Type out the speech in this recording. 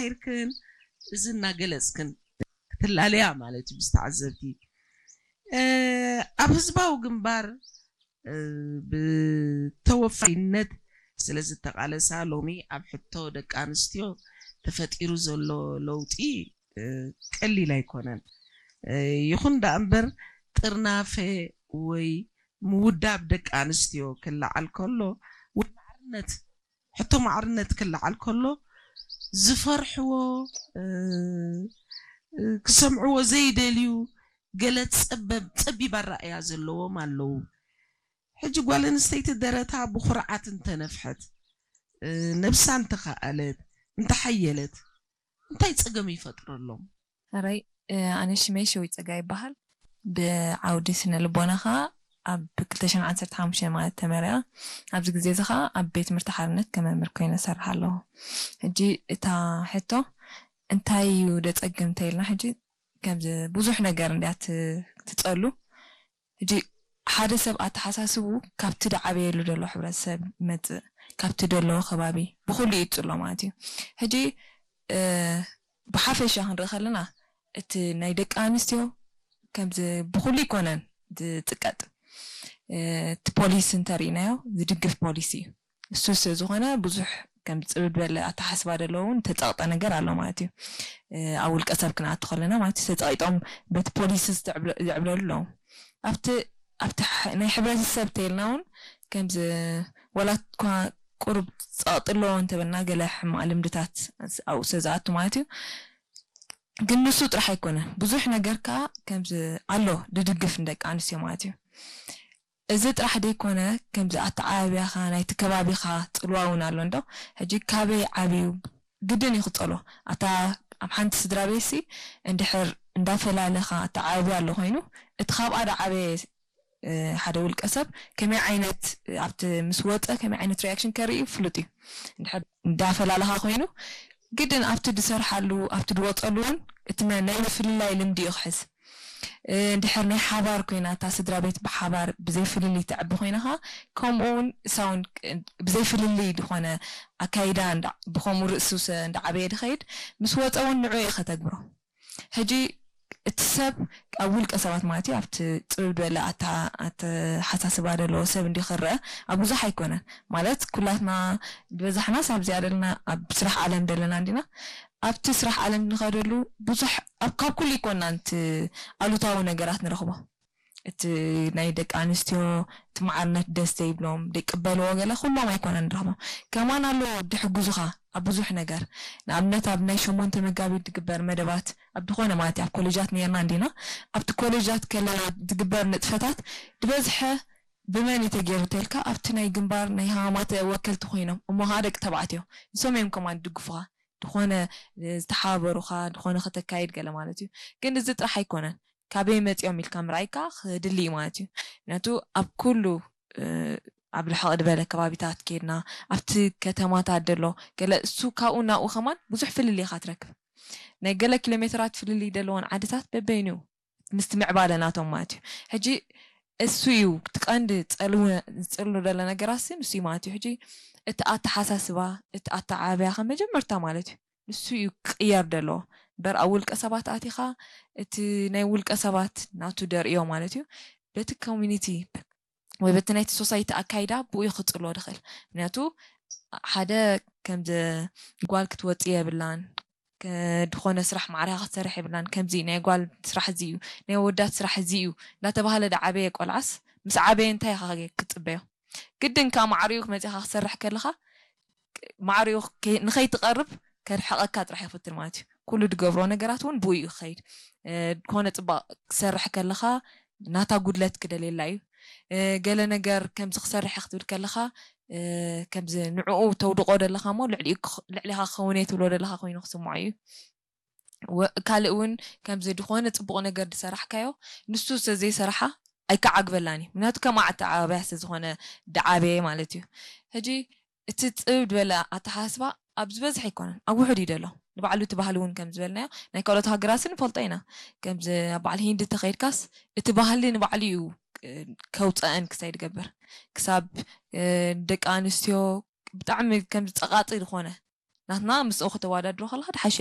ተባሂርክን፣ እዚ እናገለጽክን ክትላለያ ማለት እዩ ምስ ተዓዘብቲ። ኣብ ህዝባዊ ግንባር ብተወፋይነት ስለ ዝተቓለሳ፣ ሎሚ ኣብ ሕቶ ደቂ ኣንስትዮ ተፈጢሩ ዘሎ ለውጢ ቀሊል ኣይኮነን። ይኹን ደኣ እምበር፣ ጥርናፈ ወይ ምውዳብ ደቂ ኣንስትዮ ክለዓል ከሎ፣ ወይ ማዕርነት፣ ሕቶ ማዕርነት ክለዓል ከሎ ዝፈርሕዎ፣ ክሰምዕዎ ዘይደልዩ፣ ገለ ጸበብ ጸቢብ ኣረኣእያ ዘለዎም ኣለዉ። ሕጂ ጓል ኣንስተይቲ ደረታ ብኹርዓት እንተነፍሐት፣ ነብሳ እንተኸኣለት፣ እንተሓየለት፣ እንታይ ጸገም ይፈጥረሎም? ሕራይ፣ ኣነ ሽመይ ሸዊት ጸጋ ይበሃል። ብዓውዲ ስነ ልቦና ኸኣ ኣብ ክልተ ሽሕን ዓሰርተ ሓሙሽተን ማለት ተመሪቐ። ኣብዚ ግዜ እዚ ኸኣ ኣብ ቤት ትምህርቲ ሓርነት ከም መምህር ኮይነ እሰርሕ ኣለኹ። ሕጂ እታ ሕቶ እንታይ እዩ ደጸግም እንተኢልና፣ ሕጂ ከምዚ ብዙሕ ነገር እንድያ ት- ትጸሉ። ሕጂ ሓደ ሰብ ኣተሓሳስቡ ካብቲ ደዓበየሉ ዘሎ ሕብረተሰብ ይመጽእ፣ ካብቲ ደለዎ ከባቢ ብኹሉ እዩ ይጽሎ ማለት እዩ። ሕጂ ብሓፈሻ ክንርኢ ከለና እቲ ናይ ደቂ ኣንስትዮ ከምዚ ብኹሉ ይኮነን ዝጥቀጥ። እቲ ፖሊሲ እንተርኢናዮ ዝድግፍ ፖሊሲ እዩ። እሱ ስለ ዝኾነ ብዙሕ ከም ጽብብ ዝበለ ኣተሓስባ ዘለዎ እውን ተጸቕጠ ነገር ኣሎ ማለት እዩ። ኣብ ውልቀ ሰብ ክንኣቱ ከለና ማለት እዩ ተጸቒጦም በቲ ፖሊሲ ዝዕብለሉ ኣለዉ። ኣብቲ ኣብቲ ናይ ሕብረተሰብ ተይልና እውን ከምዚ ወላ እኳ ቁሩብ ጸቕጢ ኣለዎ እንተበልና ገለ ሕማቕ ልምድታት ኣብኡ ስለ ዝኣቱ ማለት እዩ። ግን ንሱ ጥራሕ ኣይኮነን፣ ብዙሕ ነገር ከኣ ከምዚ ኣሎ ድድግፍ ንደቂ ኣንስትዮ ማለት እዩ። እዚ ጥራሕ ደይኮነ ከምዚ ኣተዓባብያኻ ናይቲ ከባቢኻ ጽልዋ እውን ኣሎ እንዶ። ሕጂ ካበይ ዓብዩ ግድን እዩ ክጸሎ። ኣታ ኣብ ሓንቲ ስድራ ቤትሲ እንድሕር እንዳፈላለኻ ኣተዓባብያ ኣሎ ኮይኑ እቲ ካብኣ ደዓበየ ሓደ ውልቀ ሰብ ከመይ ዓይነት ኣብቲ ምስ ወፀ ከመይ ዓይነት ሪያክሽን ከርኢ ፍሉጥ እዩ። እንድሕር እንዳፈላለኻ ኮይኑ ግድን ኣብቲ ዝሰርሓሉ ኣብቲ ዝወፀሉ እውን እቲ ናይ ምፍልላይ ልምዲ እዩ ክሕዝ። እንድሕር ናይ ሓባር ኮይና እታ ስድራ ቤት ብሓባር ብዘይ ፍልልይ ትዕቢ ኮይና ኸዓ ከምኡ እውን እሳ እውን ብዘይ ፍልልይ ዝኾነ ኣካይዳ ብኸምኡ ርእሱ እንዳ ዓበየ ድኸይድ ምስ ወፀ እውን ንዑ እዩ ከተግብሮ። ሕጂ እቲ ሰብ ኣብ ውልቀ ሰባት ማለት እዩ ኣብቲ ፅብብ ዝበለ ኣተሓሳስባ ዘለዎ ሰብ እንዲ ክረአ ኣብ ብዙሕ ኣይኮነን ማለት ኩላትና ዝበዛሕናስ ኣብዚኣ ዘለና ኣብ ስራሕ ዓለም ዘለና እንዲና ኣብቲ ስራሕ ዓለም ንኸደሉ ብዙሕ ካብ ኩሉ ይኮና ንቲ ኣሉታዊ ነገራት ንረኽቦ እቲ ናይ ደቂ ኣንስትዮ እቲ መዓርነት ደስ ዘይብሎም ደይቅበልዎ ገለ ኩሎም ኣይኮነን ንረኽቦም ከማን ኣለዎ ድሕግዙኻ ኣብ ብዙሕ ነገር ንኣብነት ኣብ ናይ ሸሞንተ መጋቢት ዝግበር መደባት ኣብ ዝኾነ ማለት ኣብ ኮሌጃት ነርና እንዲና ኣብቲ ኮሌጃት ከለ ዝግበር ንጥፈታት ዝበዝሐ ብመን እዩ ተገይሩ ተልካ ኣብቲ ናይ ግንባር ናይ ሃማማተ ወከልቲ ኮይኖም እሞ ከዓ ደቂ ተባዕትዮ ንሶም እዮም ከማን ድግፉኻ ዝኾነ ዝተሓባበሩኻ ዝኾነ ከተካይድ ገለ ማለት እዩ ግን እዚ ጥራሕ ኣይኮነን ካበይ መፂኦም ኢልካ ምርኣይካ ክድሊ እዩ ማለት እዩ ምክንያቱ ኣብ ኩሉ ኣብ ርሕቕ ዝበለ ከባቢታት ኬድና ኣብቲ ከተማታት ዘሎ ገለ እሱ ካብኡ ናብኡ ከማን ብዙሕ ፍልልይ ኢኻ ትረክብ ናይ ገለ ኪሎ ሜትራት ፍልልይ ዘለዎን ዓድታት በበይኑ ምስቲ ምዕባለ ናቶም ማለት እዩ ሕጂ እሱ እዩ እቲ ቀንዲ ዝፀልዎ ዘሎ ነገራት ሲ ንሱ እዩ ማለት እዩ ሕጂ እቲ ኣተሓሳስባ እቲ ኣተዓብያ ከ መጀመርታ ማለት እዩ ንሱ እዩ ክቅየር ዘለዎ እምበር ኣብ ውልቀ ሰባት ኣቲኻ እቲ ናይ ውልቀ ሰባት ናቱ ደርእዮ ማለት እዩ በቲ ኮሚኒቲ ወይ በቲ ናይቲ ሶሳይቲ ኣካይዳ ብኡ እዩ ክፅሎ ድኽእል ምክንያቱ ሓደ ከምዚ ጓል ክትወፂ የብላን ድኾነ ስራሕ ማዕሪኻ ክትሰርሕ የብላን ከምዚ ናይ ጓል ስራሕ እዚ እዩ ናይ ወዳት ስራሕ እዚ እዩ እንዳተባሃለ ዳዓበየ ቆልዓስ ምስ ዓበየ እንታይ ኢኻ ክትፅበዮ ግድን ካብ ማዕሪኡ መፂኻ ክትሰርሕ ከለኻ ማዕሪኡ ንኸይትቐርብ ከርሕቐካ ጥራሕ ይኽፍትን ማለት እዩ ኩሉ ዝገብሮ ነገራት እውን ብኡ እዩ ክኸይድ ዝኾነ ፅባቕ ክሰርሕ ከለኻ ናታ ጉድለት ክደልየላ እዩ ገለ ነገር ከምዚ ክሰርሕ ክትብል ከለኻ ከምዚ ንዕኡ ተውድቆ ዘለኻ ሞ ልዕሊኻ ክኸውን እየ ትብሎ ዘለኻ ኮይኑ ክስምዖ እዩ ካልእ እውን ከምዚ ዝኾነ ፅቡቕ ነገር ዝሰራሕካዮ ንሱ ዘይሰራሓ ኣይከዓግበላን እዩ ምክንያቱ ከም ኣተዓባብያ ስለ ዝኾነ ዳዓበየ ማለት እዩ ሕጂ እቲ ፅብ ዝበለ ኣተሓሳስባ ኣብ ዝበዝሕ ኣይኮነን ኣብ ውሑድ እዩ ደሎ ንባዕሉ እቲ ባህሊ እውን ከም ዝበልናዮ ናይ ካልኦት ሃገራሲ ንፈልጦ ኢና ከምዚ ኣብ በዓል ሂንዲ ተኸይድካስ እቲ ባህሊ ንባዕሉ እዩ ከውፀአን ክሳይ ድገብር ክሳብ ደቂ ኣንስትዮ ብጣዕሚ ከምዚ ፀቓጢ ዝኾነ ናትና ምስኡ ከተወዳድሮ ከለኻ ድሓሽ